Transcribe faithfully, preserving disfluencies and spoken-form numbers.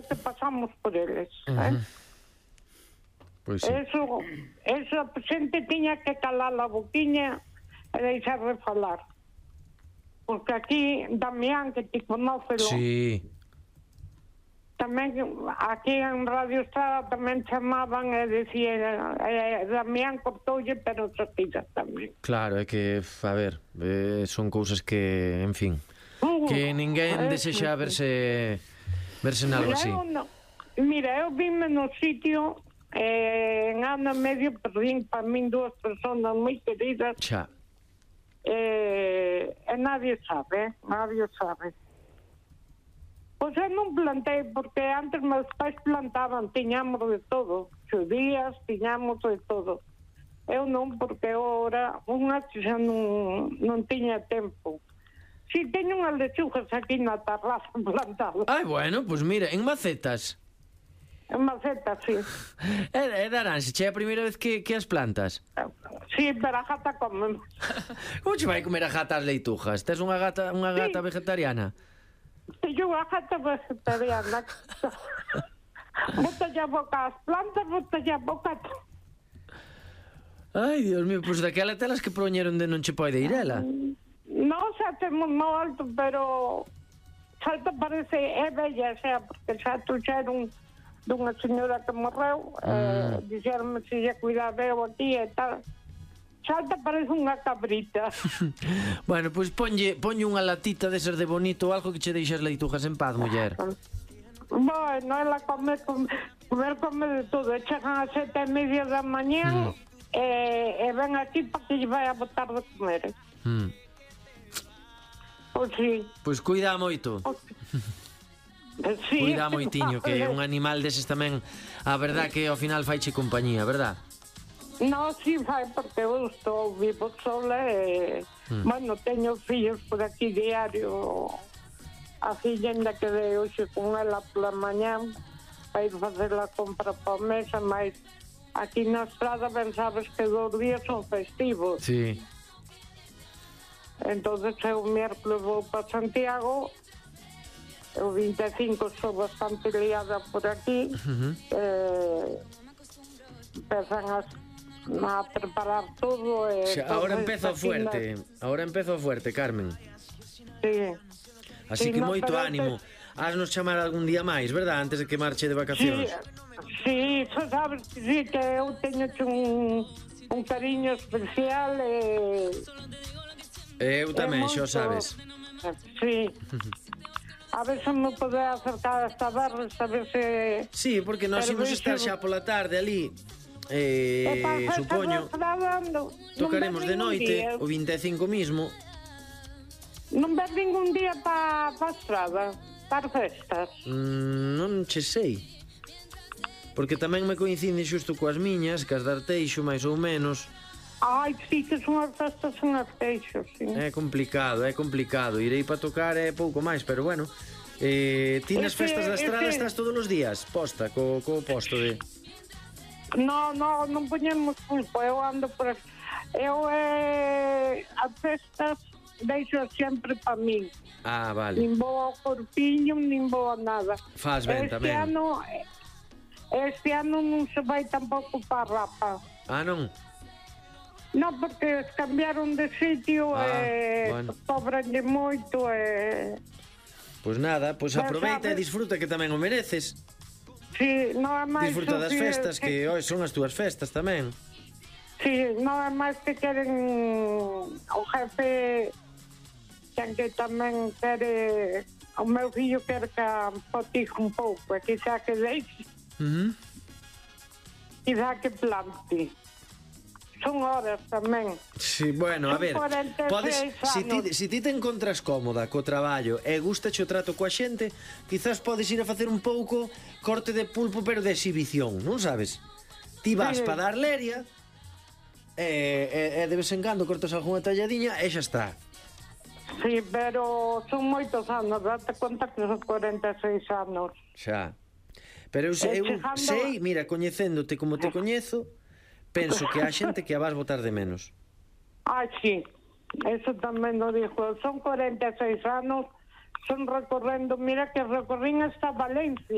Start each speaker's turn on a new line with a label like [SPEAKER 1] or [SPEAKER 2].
[SPEAKER 1] que pasamos por eles,
[SPEAKER 2] Uh
[SPEAKER 1] eh?
[SPEAKER 2] -huh. Pois sí.
[SPEAKER 1] Eso, eso a xente tiña que calar a boquiña e deixar de falar. Porque aquí, Damián, que ti conócelo,
[SPEAKER 2] Sí.
[SPEAKER 1] tamén aquí en Radio Estrada tamén chamaban e decían, eh, Damián cortoulle, pero Sotira tamén.
[SPEAKER 2] Claro, é que, a ver, eh, son cousas que, en fin,
[SPEAKER 1] Uh,
[SPEAKER 2] que ninguén
[SPEAKER 1] eh,
[SPEAKER 2] desexa verse verse en algo
[SPEAKER 1] mira,
[SPEAKER 2] así.
[SPEAKER 1] eu no, mira, eu vime no sitio eh, en ano e medio perdín para min dúas personas moi queridas.
[SPEAKER 2] Xa.
[SPEAKER 1] Eh, e nadie sabe, nadie sabe. Pois eu non plantei, porque antes meus pais plantaban, tiñamos de todo, xudías, tiñamos de todo. Eu non, porque ora unha xa non, non tiña tempo. Si, teño unhas lechugas aquí na terraza plantadas.
[SPEAKER 2] Ai, bueno, pois mira, en macetas.
[SPEAKER 1] En macetas, sí.
[SPEAKER 2] É, é naranxa, che é a primeira vez que, que as plantas.
[SPEAKER 1] Sí, pero a gata come.
[SPEAKER 2] Como che vai comer a gata as leitujas? Tes unha gata, unha gata
[SPEAKER 1] Sí.
[SPEAKER 2] vegetariana?
[SPEAKER 1] Teño unha gata vegetariana. Bota a boca as plantas, bota a boca...
[SPEAKER 2] Ai, Dios mío, pois daquela telas que proñeron de non che pode ir ela.
[SPEAKER 1] Non xa temos no alto, pero Salta parece é bella, xa, porque xa tuxeron dunha señora que morreu, mm. eh, dixeronme se lle cuidaba eu aquí e tal. Salta parece unha cabrita.
[SPEAKER 2] Bueno, pois ponlle, ponlle unha latita desas de bonito ou algo que che deixe as leitujas en paz, muller.
[SPEAKER 1] Bueno, ela come, come, comer come de todo. E chegan a sete e media da mañá mm. e, e ven aquí para que lle vai a botar de comer.
[SPEAKER 2] Mm.
[SPEAKER 1] Pois sí.
[SPEAKER 2] Pois cuida moito.
[SPEAKER 1] Sí,
[SPEAKER 2] cuida moitiño, que un animal deses tamén, a verdad que ao final faiche compañía, verdad?
[SPEAKER 1] No, sí, fai, porque eu estou vivo sola e, mm. bueno, teño fillos por aquí diario. A filla ainda quedei hoxe con ela pola mañá para ir facer a compra para a mesa, mas aquí na estrada ben sabes que dos días son festivos.
[SPEAKER 2] Sí.
[SPEAKER 1] Entonces eu miércoles vou para Santiago, o vinte e cinco estou bastante liada por aquí, uh-huh. eh, empezan a, a preparar todo. E
[SPEAKER 2] ahora empeza fuerte, na... ahora empeza fuerte, Carmen.
[SPEAKER 1] Sí.
[SPEAKER 2] Así sí, que no, moito ánimo. Te... Haznos chamar algún día máis, verdad? Antes de que marche de vacacións.
[SPEAKER 1] Sí, sí, sabes que sí, que eu teño un, un cariño especial e...
[SPEAKER 2] Eu tamén, xo sabes.
[SPEAKER 1] Sí. A ver se me pode acercar esta barra, a ver se...
[SPEAKER 2] Sí, porque nós imos estar xa pola tarde ali. Eh, supoño, tocaremos de noite, o vinte e cinco mismo.
[SPEAKER 1] Non ves ningún día pa, pa estrada, para festas?
[SPEAKER 2] Mm, non che sei. Porque tamén me coincide xusto coas miñas, que as de Arteixo, máis ou menos.
[SPEAKER 1] Ai, sí, que son as festas en Arteixo, sí.
[SPEAKER 2] É complicado, é complicado. Irei para tocar é pouco máis, pero bueno. Eh, ti nas festas da estrada ese... estás todos os días posta, co, co posto de...
[SPEAKER 1] No, no, non poñemos pulpo, eu ando por... Eu, eh, as festas deixo sempre para min.
[SPEAKER 2] Ah, vale.
[SPEAKER 1] Nin vou ao corpiño, nin vou a nada.
[SPEAKER 2] Faz ben
[SPEAKER 1] este
[SPEAKER 2] tamén.
[SPEAKER 1] Ano, este ano non se vai tampouco para Rapa.
[SPEAKER 2] Ah, non?
[SPEAKER 1] Non, porque cambiaron de sitio ah, e bueno. Cobranlle moito e...
[SPEAKER 2] Pois nada, pois aproveita e disfruta, que tamén o mereces.
[SPEAKER 1] Sí, non é máis...
[SPEAKER 2] Disfruta das festas, que hoxe son as túas festas tamén.
[SPEAKER 1] Sí, non é máis que queren o jefe, que tamén quere... O meu fillo quere que potije un pouco, e quizá que deixe,
[SPEAKER 2] uh -huh.
[SPEAKER 1] quizá que plante. Son horas tamén.
[SPEAKER 2] Sí, bueno, a ver, podes, si ti, si ti te encontras cómoda co traballo e gustache o trato coa xente, quizás podes ir a facer un pouco corte de pulpo, pero de exhibición, non sabes? Ti vas sí. para dar leria e, e, e de vez en cando cortas algunha talladiña e xa está.
[SPEAKER 1] Sí, pero son moitos anos, date conta que son cuarenta e seis anos.
[SPEAKER 2] Xa. Pero eu, eu chegando... sei, mira, coñecéndote como te coñezo, penso que há xente que a vas botar de menos.
[SPEAKER 1] Ah, sí, eso tamén lo dijo. Son cuarenta e seis anos, son recorrendo, mira que recorrín hasta Valencia.